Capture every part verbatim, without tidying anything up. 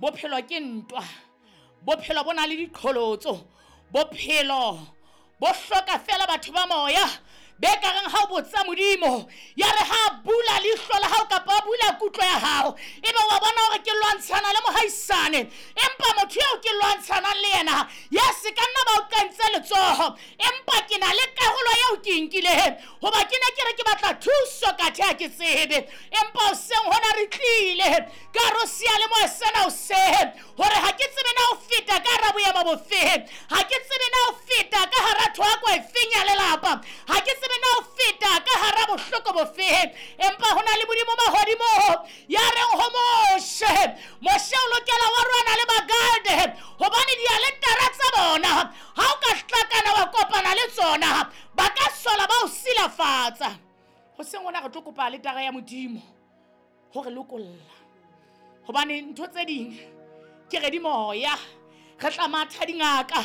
Bophelo ke ntwa. Bophelo bo na le diqholotso. Bophelo bo hloka fela batho ba moya. Be ka reng ha o botsa Modimo, ya re ha bula leihlo la hao kapa a bula kutlo ya hao, ebe wa bona hore ke lwantshana le mohaisane, empa motho eo ke lwantshanang le yena, yes, ka nna ba o kentse letsoho, empa ke na le karolo eo ke nkileng, hoba ke ne ke re ke batla thuso ka the ha ke tsebe, empa hoseng hona re tlile ka re o seyalemoya sena hoseng, hore ha ke tsebe na o feta ka hara boemo bofeng, ha ke tsebe na o feta ka hara thoako efeng ya lelapa, ha ke tsebe na o feta ka hara bohloko bofeng, empa ho na le Modimo mahodimo ya reng ho Moshe, Moshe o lokela wa rwana le Bagade, hobane dialetara tsa bona ha o ka hlakana wa kopana le tsona, ba ka sola ba o silafatsa. Hoseng hona re tlo kopa aletara ya Modimo hore lokolla, hobane ntho tse ding ke re di moya, re tla matha dingaka,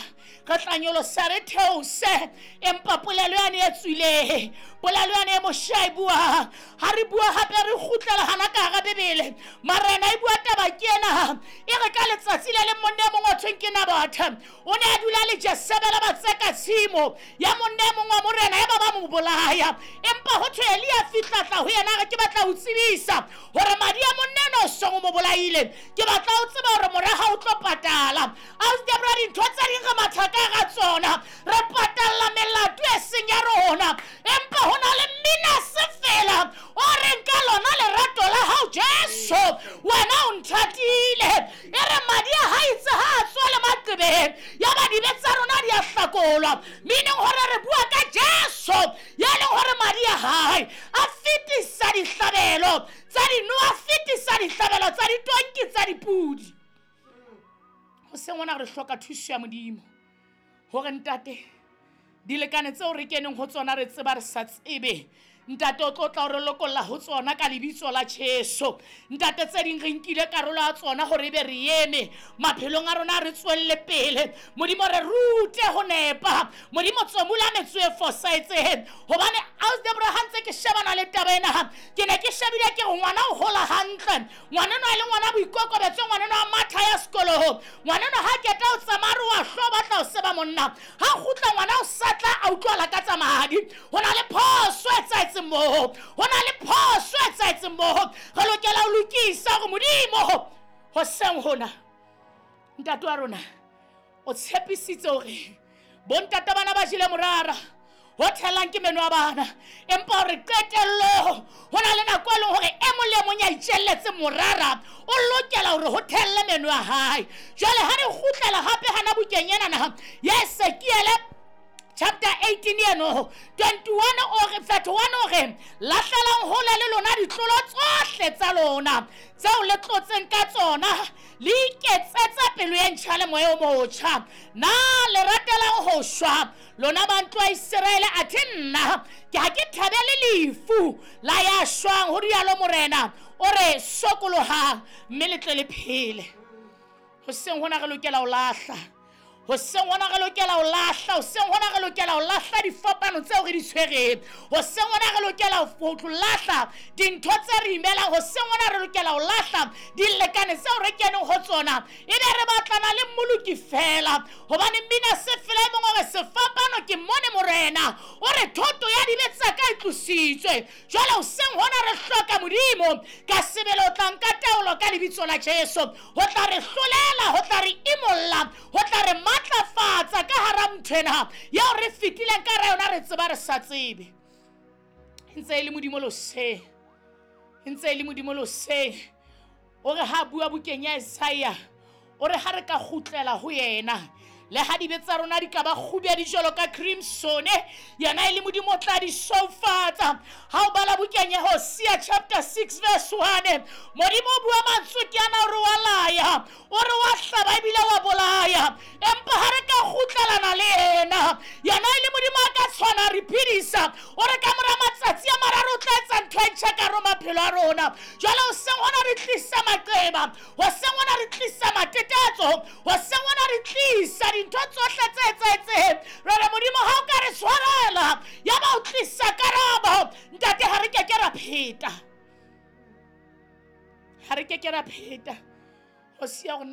re tla nyolosa re theose, empa polelo yane e tswile, polelo yane e Moshe a e buang, ha re bua hape re kgutlela hana ka hara Bibele. Marena e bua taba ke ena, e re ka letsatsi le leng monna e mong wa thweng ke Nabothe, o ne a dula le Jesebele ba tseka tshimo ya monna e mong wa morena, ya ba ba mo bolaya, empa ho thwe Elia fihla tla ho yena, re ke batla ho tsebisa hore madi a monna ena o song o mo bolaile, ke batla ho tseba hore mora ha o tlo patala. Debra, dintho tse ding re matha ka hara tsona, re patalla melato e seng ya rona, empa ho na le mmina se fela o reng ka lona lerato la hao Jesu, wena o nthatile. E re madi a hae itse ha a tswa le maqebeng, ya ba dibe tsa rona di a hlakolwa, meaning hore re bua ka Jesu ya leng hore madi a hae a fetisa dihlabelo tsa dino, a fetisa dihlabelo tsa ditonki tsa dipudi. Hoseng hona re hloka thuso ya Modimo hore ntate dilekane tseo re keneng ho tsona re tseba re sa tsebe, ntate o tlo tla o re lokolla ho tsona ka lebitso la Jesu. Ntate tse ding re nkile karolo ya tsona hore ebe re eme maphelong a rona, re tswelle pele. Modimo re rute ho nepa, Modimo tsomula metso e fosahetseng, hobane Ausi Debra ha ntse ke shebana le taba ena, ke ne ke shebile ke re ngwana o hola hantle, ngwana enwa e le ngwana boikokobetso, ngwana enwa a matha ya sekolong, ngwana enwa ha keta o tsamaya re wa hlo batla ho seba monna, ha kgutla ngwana o sa tla a utlwala ka tsa madi. Ho na le phoso e etsahetseng moo, ho na le phoso e etsahetseng moo, re lokela ho lokisa hore Modimo hoseng hona ntate wa rona o tshepisitse hore bontata bana ba jele morara ho thelang ke meno a bana, empa hore qetello ho na le nako e leng hore e mong le mong ya itjelletse morara o lokela hore ho thelle meno a hae. Jwale ha re kgutlela hape hana bukeng ena naha ya Ezekiele chapter eighteen eno twenty-one o re thirty-one o re lahlelang hole le lona ditlolo tsohle tsa lona tseo le tlotseng ka tsona, le iketsetse pelo e ntjha le moya o motjha. Na le ratelang ho shwa lona ba ntlo ya Iseraele? Athe nna ke ha ke thabele lefu la ya shwang, ho rialo Morena. O re sokolohang mme le tle le phele. Hoseng hona re lokela ho lahla, hoseng hona re lokela ho lahla, hoseng hona re lokela ho lahla difapano tseo re di tshwereng, hoseng hona re lokela ho lahla dintho tse re imelang, hoseng hona re lokela ho lahla dilekane tseo re keneng ho tsona, ebe re batlana le Mmoloki fela, hobane mmina se fela e mongwe hore sefapano ke mone Morena o re thoto ya dibe tsa ka e tlositswe. Jwale hoseng hona re hloka Modimo ka sebele, o tla nka taolo ka lebitso la Jesu, ho tla re hlolela, ho tla re imolla, ho tla re matlafatsa ka hara ntho ena eo re fetileng ka hara yona re tseba re sa tsebe. E ntse e le Modimo loseng, e ntse e le Modimo loseng. O re ha bua bukeng ya Isaiah, o re ha re ka kgutlela ho yena, le ha dibe tsa rona di ka ba kgubedi jwalo ka crimson, yena e le Modimo o tla di soufatsa. Ha o bala bukeng ya Hosea chapter six verse one, Modimo o bua mantswe ke ana, o re wa laya, o re wa hlaba ebile wa bolaya, empa ha re ka kgutlelana le yena, yena e le Modimo a ka tshwana re phedisa. O re ka mora matsatsi a mararo o tla etsa ntho e ntjha ka hara maphelo a rona. Jwale hoseng hona re tlisa maqeba, hoseng hona re tlisa matetetso, hoseng hona re tlisa dintho tsohle tse etsahetseng. Re re Modimo ha o ka re tshwarela, ya ba o tlisa karabo, ntate ha re keke ra pheta, ha re keke ra pheta. Ho siya